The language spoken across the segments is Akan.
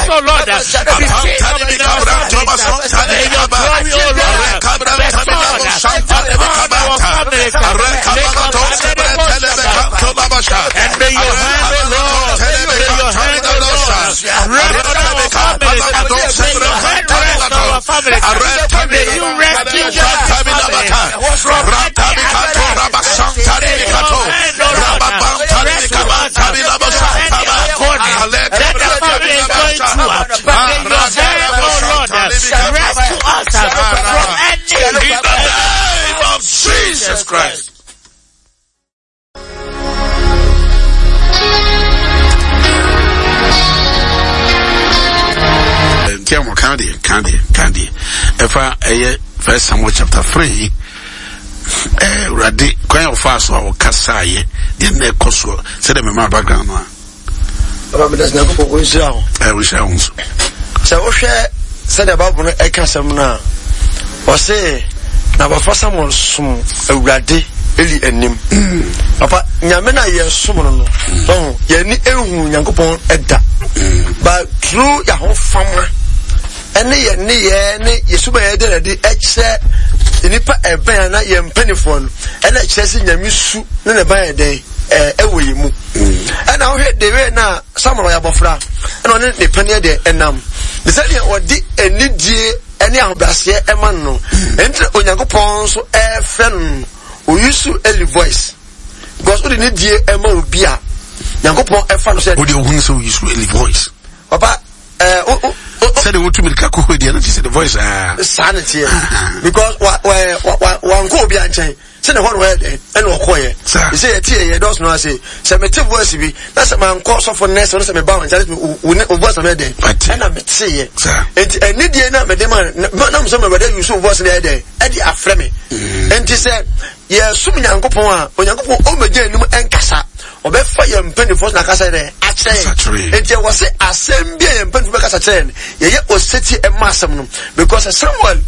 us, O Lord. Befit our families. May your glory, O Lord, be seen upon our families. And may your hand, O Lord, may your hand, O Lord, rest our families. May your hand rest our families. May you rescue our families from any attack. May your hand, O Lord, rescue us from any agony that the family is going through. May your hand, O Lord, rescue us from any. In the name of Jesus Christ. Nti a wɔka deɛ ka deɛ ka deɛ ɛfa ɛyɛ First Samuel chapter 3 Awurade kwan a ɔfaa so a ɔkasaeɛ deɛ na ɛkɔ soɔ sɛdeɛ mema background no a. Papa meda sɛ Nyankopɔn ɔnhyira wo. Ɛ ɔnhyira wo nso. Sɛ wohwɛ sɛdeɛ Bible no ɛka asɛm no a, ɔse na abɔfra Samuel som Awurade Eli anim. Mm. Papa, Nyame na yɛsom no no, ɔho, yɛni ehu Nyankopɔn ɛda. Mm. But through yɛahofama ɛne yɛn nneyɛɛ ne yɛn suban yɛde na de ɛkyerɛ nnipa ɛbɛn ana yɛn mpanimfoɔ no ɛna ɛkyerɛ sɛ Nyame su ne ne ban yɛ dɛn ɛwɔ yɛn mu. Ɛna wohwɛ the way na Samuel ɔyɛ abɔfra ɛna ɔne ne paneɛ deɛ ɛnam ne sɛdeɛ ɔde anidie ɛne ahobrɛaseɛ ɛma no no ɛnti na Onyankopɔn nso ɛfrɛ no no ɔyusu Eli voice because wode ne die ɛma obi a Nyankopɔn ɛfa no sɛ wode ohunu sɛ ɔyusu Eli voice papa ɛɛ o o sɛdeɛ wotu mirika kɔ hɔ deɛ no te sɛ the voice aa saa ne teɛ because wa wa wa wankɔ obi ankyɛn sɛ na ɛhɔ na ɔyɛ dɛn ɛna ɔkɔyɛ sɛ yɛte yɛ yɛ dɔɔso no ase sɛ mete voice bi na sɛ mankɔ sɔfo nnɛ sɛ ɔno sɛ meba wɔn nkyɛn wo ne wo voice na mɛyɛ dɛn ɛna mete yɛ nti ɛnidie na mede ma na mo sɛ mɛwɛdɛ yusu wo voice na yɛ dɛn ɛde afrɛ me mm. nti sɛ yɛsom Nyankopɔn a Onyankopɔn ɔmmɛgya anim ɛnkasa ɔbɛfa yɛn mpanimfoɔ so na akasa dɛn akyerɛ yɛn nti ɛwɔ sɛ asɛm bi a yɛn mpanimfoɔ bɛkasa kyerɛ yɛn yɛyɛ osetie ɛma asɛm no because Samuel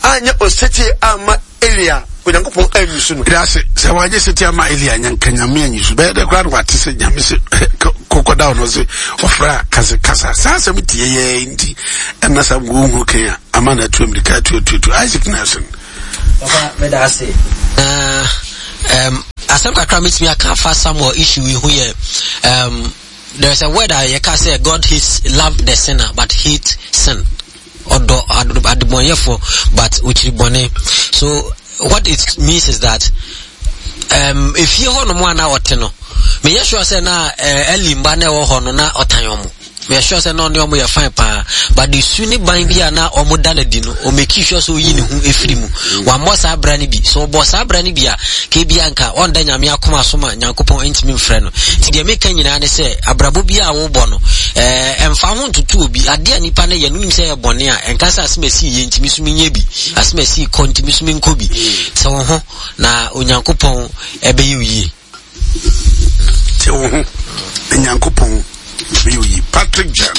anyɛ osetie amma Elia, Onyankopɔn anyi so no. Ɛda ase sɛ wanyɛ sɛti ama Elia nya nka Nyame anyi so. Bɛyɛ dɛ koraa na wate sɛ Nyame se kɔkɔda ɔno se ɔfrɛ a kase kasa. Saa asɛm tie yɛ nti ɛna sa wɔhunu kan a ama no atu amirika atu atu atu. Isaac Nelson. Papa, meda ase. Na um, asɛm kakra metumi aka afa Samuel issue yi ho yɛ um, there is a word a yɛka sɛ God hates love the sinner but hate sin. Ɔdɔ adebɔnyɛfoɔ but ɔkyiri bɔne. So what it means is that um, efie hɔ nom a na ɔte no meyɛ sure sɛ na uh, Eli mba na ɛwɔ hɔ no na ɔtan ɔmo meyɛ sure sɛ na ɔne ɔmo yɛ fine paa but de su ne ban bi a na ɔmo da no adi no ɔmɛki sure sɛ ɔyi ne ho efiri mu wammɔ saa bra no bi so ɔbɔ saa bra no bi a kebi anka ɔnda Nyame akoma so ma Nyankopɔn ntumi mfrɛ no nti deɛ meka nyinaa ne sɛ abrabɔ bi a wobɔ no ɛɛ ɛmfa ho ntoto obi adeɛ a nipa no yɛ no nim sɛ ɛyɛ bɔne a ɛnka sɛ asɛm asi yɛ ntumi so menyɛ bi asɛm asi kɔ ntumi so menkɔ bi sɛ wo ho na Onyankopɔn ɛbɛyɛ wo yie. Te wo ho na Nyankopɔn bɛyɛ wo yie. Patrick Jan.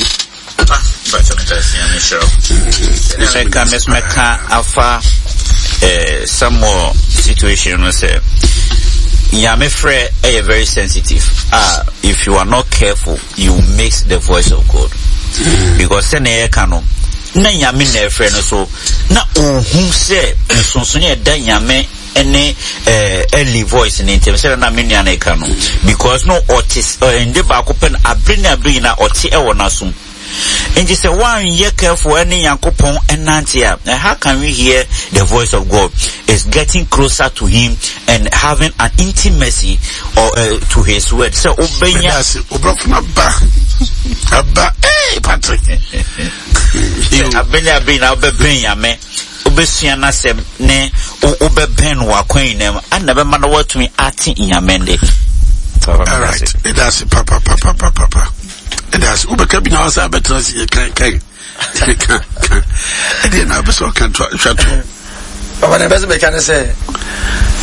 Mɛka mɛka afa eh, Samuel situation no sɛ Nyame frɛ ɛyɛ very sensitive. Ah, if you are not careful, you miss the voice of God. Because sɛnea yɛka no, na Nyame na ɛfrɛ no so, na ohu sɛ nsonsonoe a ɛda Nyame ne eh, Eli voice ne ntɛm sɛdeɛ na me nua no ɛka no because no ɔte ɛnde baako pɛ no abere ne abere nyinaa ɔte ɛwɔ n'asom nti sɛ woanyɛ careful ɛne Nyankopɔn ɛnante a how can we hear the voice of God is getting closer to him and having an intimacy or, uh, to his word sɛ wobɛnya obrɔfo no aba aba hey Patrick abere ne abere nyinaa wobɛbɛn Nyame wobɛsua n'asɛm ne wobɛbɛn no w'akwan nyinaa mu ana bɛma no woatumi ate Nyame nde. Alright, ɛda ase papapapapapa. Ɛda ase wobɛka bi na wasa abɛtena ase yɛ kan kan kan kan. Ɛdeɛ na abɛsɛ ɔka to twa to. Papa na ɛbɛsɛ bɛka ne sɛ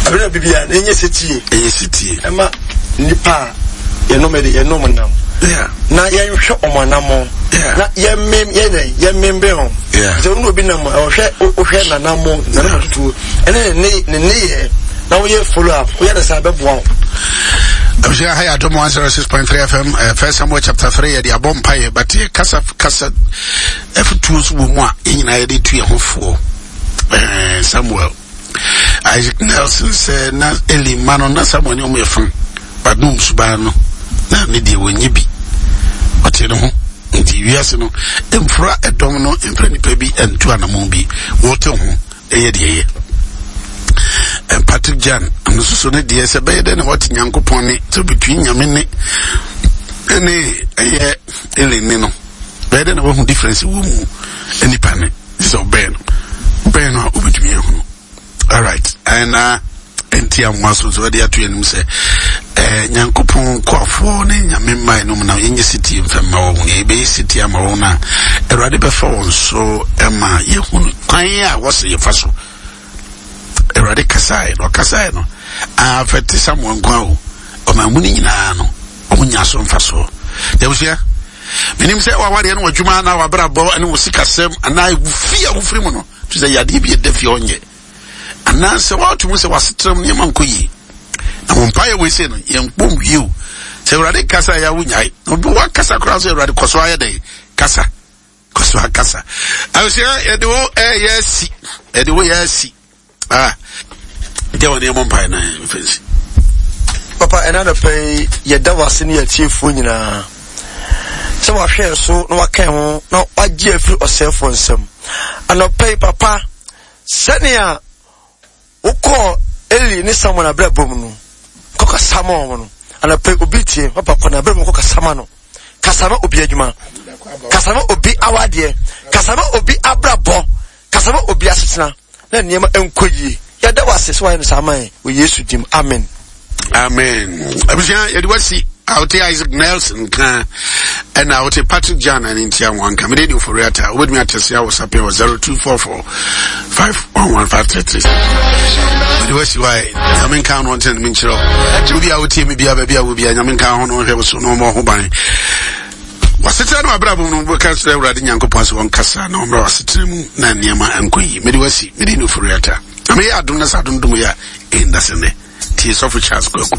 abɛn na bibi a na ɛnyɛ setie. Ɛnyɛ setie. Ɛma nipa a yɛnom ɛde yɛnom nam. Na yɛnhwɛ ɔmo anamɔ. Na yɛmmem yɛnɛ yɛmmem bɛn o. Sɛ ɔno obi nam a ɔhwɛ ɔhwɛ nanamɔ nanamɔ tutuo ɛne ne ne ne yɛ na woyɛ follow up woyɛ ne saa bɛboa wo. Abusua ha yɛ Adom 106.3 FM eh, First Samuel chapter 3 yɛde abɔ mpaeɛ but yɛ kasa kasa afutuo nso wɔ mu a yɛn nyinaa yɛde tu yɛn ho foɔ eh, Samuel Isaac Nelson sɛ na Eli mma no na Samuel ne wɔn yɛ fam but no suban no na ne deɛ wɔnyɛ bi ɔte ne ho nti wiase no mfura ɛdɔm no mfura nipa bi ntu anamon bi wɔte ho ɛyɛ deɛ ɛyɛ and Patrick Jan ɔno nso so ne deɛ sɛ bɛyɛ dɛ na wɔte Nyankopɔn ne sɛ between Nyame ne ɛne ɛyɛ Eli ne no bɛyɛ dɛ na wɔahu difference wɔ mu nipa ne sɛ ɔbɛn no bɛn no a wobɛtumi ahunu alright ɛna nti amoa so nso ɛde ato anim sɛ ɛɛ nyankopɔn nkoafoɔ ne nyame mmae no mu na yɛnyɛ setie mfa mma wɔn na yɛbɛyɛ setie ama wɔn a awurade bɛfa wɔn so ɛma yɛhunu kwan a wɔsɛ yɛfa so awurade kasaeɛ na ɔkasaeɛ no afɛte samuel nko a o ɔman mu no nyinaa no wɔn nya so mfasoɔ yɛbusua menim sɛ wawadeɛ no w'adwuma anaa w'abrabɔ ne wo sikasɛm anaa fie a wofiri mu no te sɛ yadeɛ bi ɛda fie ɔnyɛ anaasɛ woato mu sɛ w'asetena mu nneɛma nkɔ yie na wɔn mpaeɛ wei sei no yɛn kpɔm wie o sɛ awurade kasa yɛ awo nyae na obi wakasa koraa sɛ awurade kɔ so ayɛ dɛn kasa kɔ so akasa abusua yɛde wo ɛyɛ asi yɛde wo yɛ asi ah gya wɔn nneɛma mpaeɛ na mfɛnsi. Papa ɛna anɔpa yi yɛda w'ase ne yɛatiefoɔ nyinaa sɛ wahwɛ so na waka ho na wagye afiri ɔsɛefoɔ nsam anɔpa yi papa Sɛnea wokɔɔ Eli ne Samuel abrabɔ mu no, kɔkasa ma wɔn no. Anɔpa yi, obi tie, papa kɔ n'abrabɔ mu kɔkasa ma no. Kasa ma obi adwuma. Kasa ma obi awadeɛ. Kasa ma obi abrabɔ. Kasa ma obi asetena. Na nneɛma nkɔ yie. Yɛda wo ase sɛ wayɛ no saa ama yɛn wɔ Yesu dim. Amen. Amen. Abusua yɛde wasi a wote Isaac Nelson nka ɛna wote Patrick Jan ne ntia wɔn nka mede ne ofori ata wobɛtumi atɛse awɔ sapɛ wɔ 0244 511533 mede wasi wa nyame nka no ɔntene no menkyerɛ wo wobi a wotie me bia baabi a wo bia nyame nka ho no ɔhwɛ wo so na ɔmmɔ ho ban wasetena no abrabɔ mu no wobɛka kyerɛ awurade nyankopɔn sɛ wɔnkasa na ɔmmra wasetena mu na nneɛma nkɔ yi mede wasi mede ne ofori ata na meyɛ adom na sɛ adom dom yɛ a ɛnda sɛ nnɛ tie sɔfo Charles Kwaku.